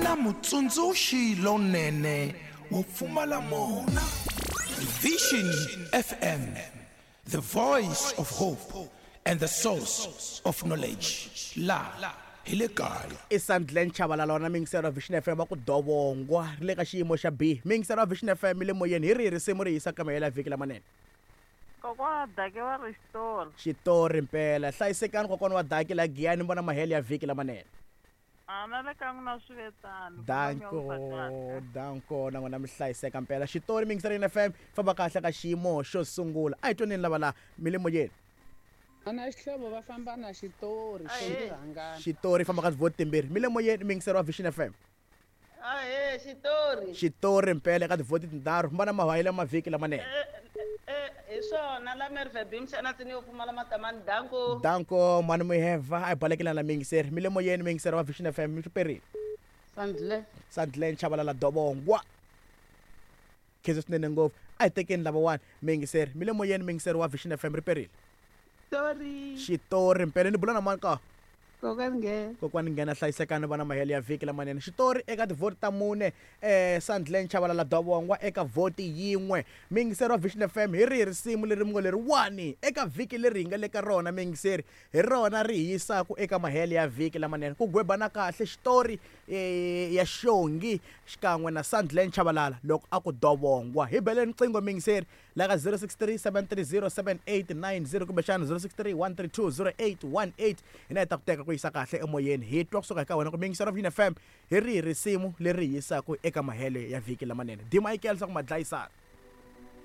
na mutsundzuxi lonene wo pfumala mona. Vision FM, the voice of hope and the source of knowledge. La hi le kaya. I Sandlen Chabalala wa na miyingiselo wa Vision FM va ku dovongwa ri le ka xiyimo xa B. Miyingiselo wa Vision FM le moyeni hi rihi risimu ri hisa ka mahelo ya vhiki lamanene? Kokwana Dake va ri xitori. Xitori mpela. Hlayisekani kokwana wa Dake la Giyani mi vona mahelo ya vhiki lamanene. A na le ka n'wina swi ve tano. Danko, danko na n'wina mi hlayiseka mpela. Xitori mi yingisela FM famba kahle ka xiyimo xo sungula. A hi twaneni lava la mi le moyeni. Ana xihlovo va famba na xitori xo rhangana. Xitori famba ka tivhoti timbirhi. Mi le moyeni mi yingisela wa Vision FM. Ahee, xitori. Xitori mpela eka tivhoti tinharhu. Famba na mahayelo ya mavhiki lamanene. Hi swona la Merve Bimshana tsini yo pfumala matamani danko. Danko mhani Muheva a hi balekela la miyingiseri. Mi le moyeni miyingiseri wa Vision FM mi swi perile. Sandle. Sandlen Chabalala Dobongwa. Khensa swinene ngopfu. A hi tekeni lavawani miyingiseri. Mi le moyeni miyingiseri wa Vision FM ri perile. Xitori. Xitori mpela ni bula na mani ka? Kokwani Nghena. Kokwani Nghena hlayisekani vana mahelo ya vhiki lamanene. Xitori eka tivhoti ta mune Sandlen Chabalala Dovongwa eka vhoti yin'we. Miyingiseri wa Vision FM hi rihi risimu leri mi ngo leriwani eka vhiki leri hi nga le ka rona miyingiseri hi rona ri hi yisaku eka mahelo ya vhiki lamanene. Ku gwebana kahle xitori ya Xongi xikan'we na Sandlen Chabalala loko a ku Dovongwa. Hi beleni riqingho miyingiseri la ka 063 730 7890 kumbexana 063 132 0818 hina hi ta ku teka ku yisa kahle emoyeni hi twa kusuka eka wena ku miyingiselo of fm hi rihi risimu leri hi yisaka eka mahelo ya vhiki lamanene d michael swa ku madlayisana.